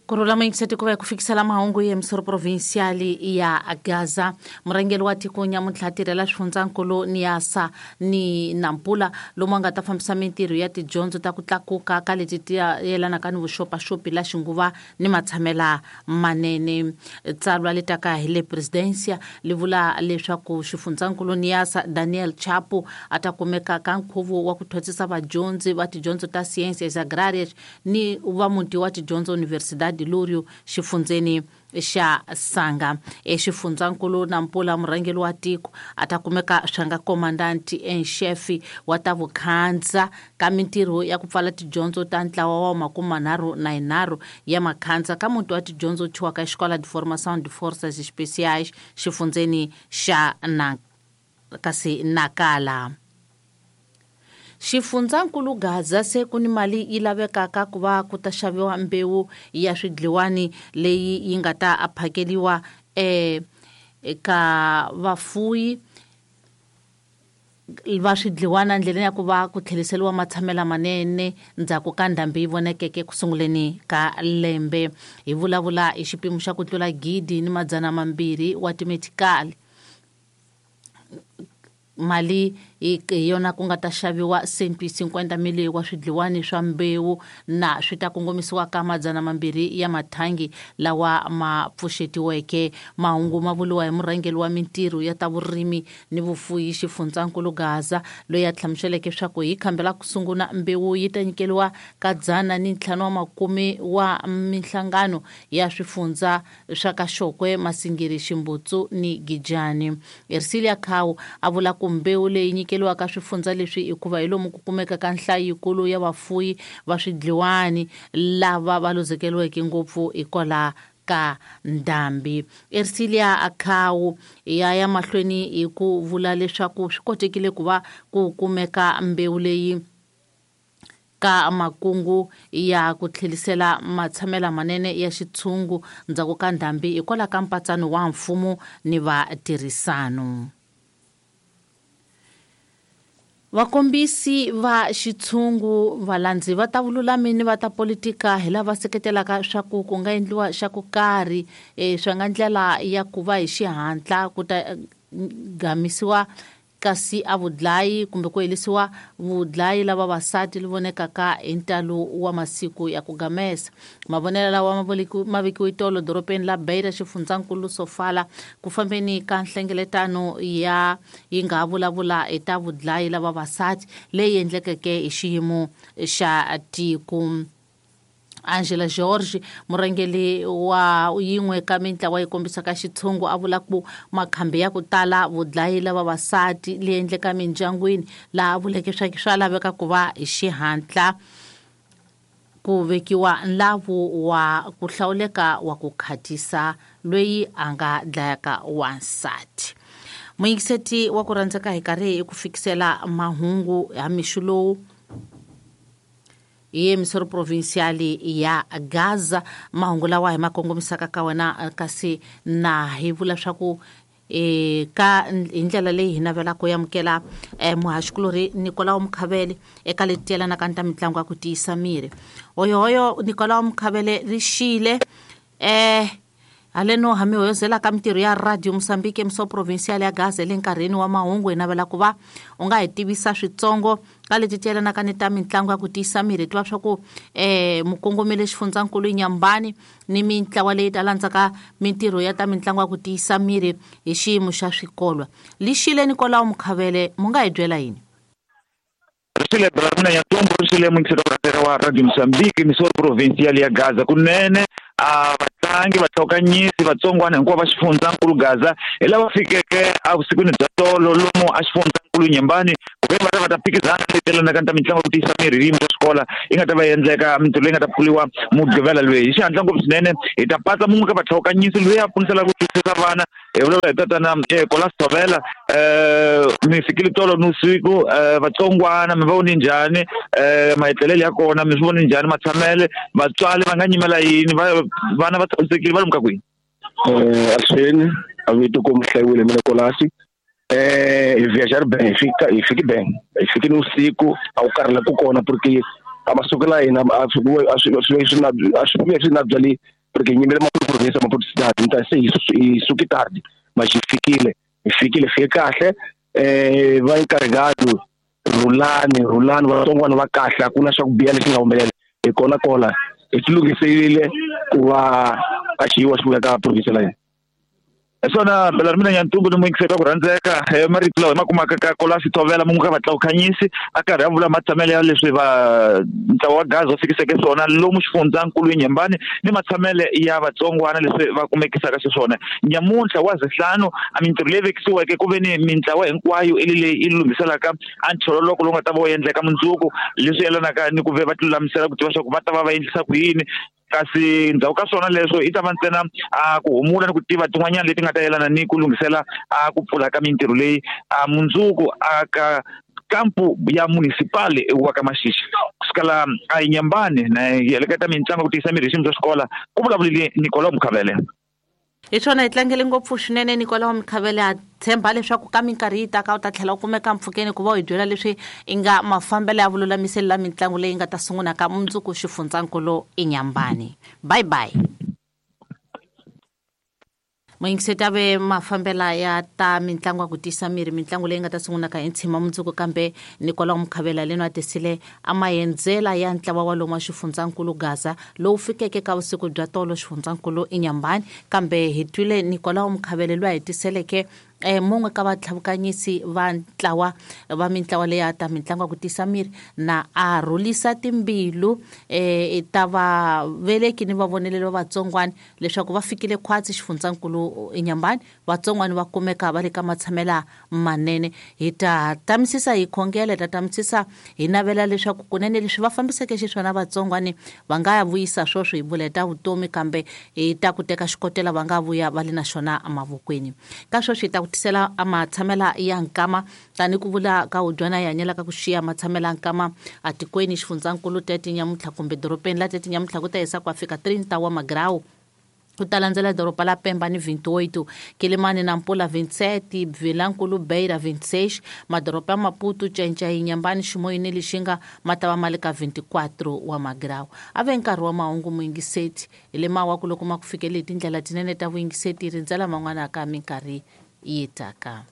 Ku rhula muyingiseti ku va hi ku fikisela mahungu ya emisoro provincial ya Gaza. Murhangeri wa tiko nyamuntlha tirhela swifundzankulu Niassa ni Nampula lomu a nga ta fambisa mintirho ya tidyondzo ta ku tlakuka ka leti ti yelanaka ni vuxopaxopi la xinguva ni matshamela manene. Tsalwa le taka hi le presidencia li vula leswaku xifundzankulu Niassa Daniel Chapo a ta kumeka ka nkhuvo wa ku thwasisa vadyondzi va tidyondzo ta Ciências Agrárias ni va muti wa tidyondzo Universidade Lúrio xifundzeni xa Sanga. Exifundzankulu Nampula murhangeri wa tiko a ta kumeka swa nga commandant en chef wa ta vukhandza ka mintirho ya ku pfala tidyondzo ta ntlawa wa 33 ya makhandza ka muti wa tidyondzo thyiwaka Escola de Formação de Forças Especiais xifundzeni xa na kasi Nakala. Xifundzankulu Gaza se ku ni mali yi lavekaka ku va ku ta xaviwa mbewu ya swidliwani leyi yi nga ta phakeliwa eka vafuyi va swidliwana ndleleni ya ku va ku tlheriseriwa matshamela manene ndzhaku ka ndhambi yi vonekeke ku sunguleni ka lembe. Hi vulavula hi xipimo xa ku tlula 1200 wa timetikali. Mali hi yona ku nga ta xaviwa 150 mili wa swidliwani swa mbewu na swi ta kongomisiwa ka 200 ya mathangi lawa ma pfuxetiweke. Mahungu ma vuriwa hi murhangeri wa mintirho ya ta vurimi ni vufuyi xifundzankulu Gaza loyi a hlamuseleke swa ku hi khambi ra ku sungula mbewu yi ta nyikeriwa ka 150 wa minhlangano ya swifundza swa ka Xokwe, Masingiri, Ximbutsu ni Gijani. Ersilia Khau a vula ku mbewu leyi nyikeriwaka swifundza leswi hikuva hi lomu ku kumeka ka nhlayo yikulu ya vafuyi va swidliwani lava va luzekeriweke ngopfu hikwalaho ka ndhambi. Ersilia Khau ya ya mahlweni hi ku vula leswaku swi kotekile ku va ku kumeka mbewu leyi ka makungu ya ku tlherisela matshamela manene ya xitshungu ndzhaku ka ndhambi hikwalaho ka mpatsano wa mfumo ni vatirhisano. Vakombisi va xitshungu valandzi va ta vululami ni va ta politika hi lava seketelaka swa ku ku nga endliwa xa ku karhi swa nga ndlela ya ku va hi xihatla ku ta gamisiwa kasi a vudlayi kumbe ku helisiwa vudlayi lava vavasati li vonekaka hi ntalo wa masiku ya ku gamesa. Mavonelo lawa ma vekiwe tolo dorobeni la Beira xifundzankulu Sofala ku fambeni ka nhlengeletano ya yi nga vulavula hi ta vudlayi lava vavasati leyi endlekeke hi xiyimo xa tiko. Angela George murhangeri wa yin'we ka mintlawa yi kombisaka xitshungu a vula ku makhambi ya ku tala vudlayi lava vavasati leyi endleka mindyangwini laha vuleke swa swa laveka ku va hi xihatla ku vekiwa nlavu wa ku hlawuleka wa ku khatisa loyi a nga dlayaka wansati. Muyingiseti wa ku rhandzeka hi karhi hi ku fikisela mahungu ya mixo lowu hi emisoro provincial ya Gaza. Mahungu lawa hi ma kongomisaka ka wena kasi na hi vula swa ku ka hi ndlela leyi hi navelaka ku amukela muhaxikulorhi Nicolau Mukhavele eka leti yelanaka ni ta mitlangu ya ku tiyisa miri. Hoyohoyo Nicolau Mukhavele ri xile haleno ha mi hoyozela ka mintirho ya Radio Mozambique emisoro provincial ya Gaza le nkarhini wa mahungu hi navela ku va u nga hi tivisa switsongo ka leti ti yelanaka ni ta mitlangu ya ku tiyisa miri. Tiva swa ku mukongomeli xifundzankulu Nyambani ni mintlawa leyi ta landzaka mintirho ya ta mitlangu ya ku tiyisa miri hi xiyimo xa swikolo. Lixile Nicolau Mukhavele mu nga hi byela yini? Rixile Bramina Nyatombo, rixile muyingiseri wa Radio Mozambique emisoro provincial ya Gaza. Kunene a vatlangi vatlhokanyisi vatsongwana hinkwavo va xifundzankulu Gaza hi lava fikeke evusikwini bya tolo lomu a xifundzankulu Nyembani ku ve va ta va ta phikizana leyi yelanaka ni ta mitlangu ya ku tiyisa miri hi yimo ya xikolo yi nga ta va endleka mintirho leyi nga ta pfuriwa Mugqivela loyi hi xihatla ngopfu swinene. Hi ta patsa mun'we ka vatlhokanyisi loyi a pfuniselaka ku twisisa vana hi vulavula hi tatana Kolas Thovela. Mi fikile tolo nivusiku vatsongwana mi va vone njhani maetlelelo ya kona mi swi vone njhani matshamele vatswari va nga nyimela yini vana va tshamisekile va lomu ka kwini? Avuxeni a vito ku mi hlayiwile mina Kolasi. Hi viajar ben hi fika hi fiki ben hi fiki nivusiku a wu karhala ku kona porque a masiku la hina a swi a swi a swi swi na a swi swi na byali Porque nyimele Maputo province, Maputo cidade, então se hi suki tarde, mas hi fikile, fike kahle. Va encarregado Rulani vatsongwana va kahle, a ku na xa ku biha lexi nga humelela. Hi kona kola hi tilunghiserile ku va a xiyiwa xi vuya ka province la hina. Hi swona Belarmina Nyantumbu ni muyingiseri wa ku rhandzeka, marito lawa hi ma kumaka ka Kolasi Thovela mun'we ka vatlakukhanyisi a karhi a vula matshamelo ya leswi va ntlawa wa Gaza wu fikiseke swona lomu xifundzankulu eNyembani ni matshamele ya vatsongwana leswi va kumekisaka xiswona. Nyamuntlha wa Zihlanu a mintirho leyi vekisiweke ku ve ni mintlawa hinkwayo i leyi yi lunghiselaka a nchololoko lowu nga ta va wu endleka mundzuku, leswi yelanaka ni ku ve va tilulamisela ku tiva swa ku va ta va va endlisa ku yini. Kasi ndzhaku ka swona leswo i ta va ntsena a ku humula ni ku tiva tin'wanyana leti nga ta yelana ni ku lunghisela a ku pfula ka mintirho leyi a mundzuku a ka kampu ya municipal wa ka Maxixi. Kusukela a Inyambani na heleketa mitlangu ku tiyisa mirhi xiyimo xa xikola, ku vulavulile Nicolau Mukhavele. Hi swona hi tlangele ngopfu swinene Nicolau Mukhavele, a tshemba leswaku ka minkarhi yi taka u ta tlhela u kumeka mpfhukeni ku va u hi byela leswi i nga mafambelo ya vululamiseli la mitlangu leyi nga ta sungula ka mundzuku xifundzankulu eNyambani. Bye bye. Muyingiseti a ve mafambela ya ta mitlangu ya ku tiyisa miri, mitlangu leyi nga ta sungula ka hi ntshima mundzuku, kambe Nicolau Mukhavela leno a tisile a maendzela ya ntlawa wa lomu wa xifundzankulu Gaza lowu fikeke ka vusiku bya tolo xifundzankulu eNyambani. Kambe hi twile Nicolau Mukhavele loyi a hi tiseleke mun'we ka vatlhavukanyisi va ntlawa va mintlawa leyi ya ta mitlangu ya ku tiyisa miri, na a rhulisa timbilu ta vaveleki ni vavoneleli va vatsongwana leswaku va fikile khwatsi xifundzankulu eNyambani, vatsongwana va kumeka va le ka matshamela manene. Hi ta tamisisa hi khongela, hi ta tamisisa hi navela leswaku kunene leswi va fambiseke xiswona vatsongwani va nga ya vuyisa swoswo hi vula hi ta vutomi, kambe hi ta ku teka xikotela va nga vuya va le na xona emavokweni. Ka sweswi hi ta ku tisela a matshamela ya nkama, tani ku vula ka udyana hi hanyelaka ku xiya matshamela nkama atikweni xifundzankulu tete nyamuntlha kumbe dorobeni la tete nyamuntlha ku ta hisa ku fika 30 wa magrawu. Ku ta landzela doroba la Pemba ni 28, Kilimani na Mpula 27, Vilankulu Beira 26, madoroba ya Maputo, Cenca, Inyambani, Ximoyi ni Lixinga ma ta va ma le ka 24 wa magrawu. A ve nkarhi wa mahungu muyingiseti, hi le mawa ku loko ma ku fikele hi tindlela tinene ta vuyingiseti, rindzela man'wana ka minkarhi yi taka.